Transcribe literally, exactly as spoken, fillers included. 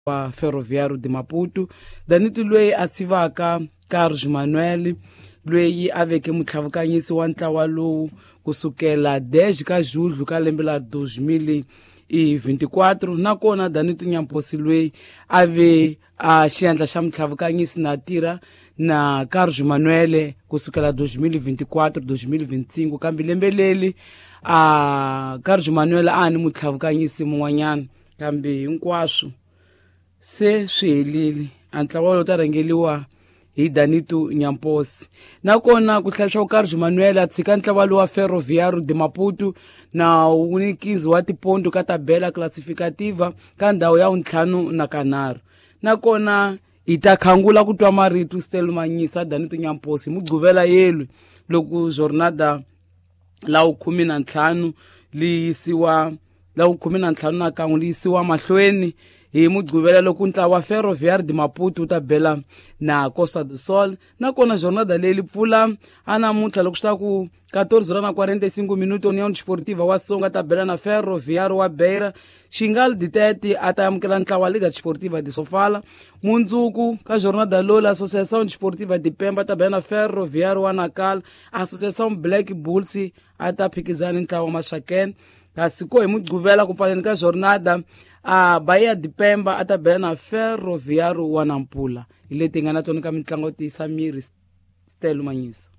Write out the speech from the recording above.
Wa Ferroviário de Maputo, Danito loyi a sivaka Carlos Manuel, loyi a veke mutlhavukanyisi wa ntlawa lowu kusukela dez ka julho ka lembe la dois mil e vinte e quatro. Nakona Danito Nyamposi loyi a ve a xiendla xa mutlhavukanyisi na tirha na Carlos Manuel kusukela dois mil e vinte e quatro dois mil e vinte e cinco, kambe lembe leri a Carlos Manuel a ni mutlhavukanyisi mun'wanyana, kambe hinkwaswo se swi helile. A ntlawa lowu ta rhangeliwa hi Danito Nyamposi. Nakona ku tlhela leswaku Carlos Manuel a tshika ntlawa lowu wa Ferroviário de Maputo na wu ni quinze wa tiponto ka tabela classificativa ka ndhawu ya vuntlhanu na kanharhu. Nakona hi ta khangula ku twa marito Stel Manyisa Danito Nyamposi hi Mugqivela yelwi, loko jornada la vukhume na ntlhanu li yisiwa, la vukhume na ntlhanu na kan'we li yisiwa mahlweni hi Mugqivela, loko ntlawa wa Ferroviário de Maputo wu ta bela na Costa do Sol. Nakona jornada leyi li pfula a namuntlha loko swi ta ku catorze horas na quarenta e cinco minutos, União Desportiva wa Songo ta bela na Ferroviário wa Beira. Xingal Ditete a ta amukela ntlawa wa Liga Desportiva de Sofala. Mundzuku ka jornada lowu, la Associação Desportiva de Pemba ta bela na Ferroviário wa Nacala. Associação Black Bulls a ta phikizana ni ntlawa wa Maxaken. Kasi ko hi Mugqivela ku pfaleni ka jornada, a Bahia de Pemba a ta bela na Ferroviário wa Nampula. Hi leti hi nga na tona ka mitlangu yo tiyisa miri, Stelo Manyisa.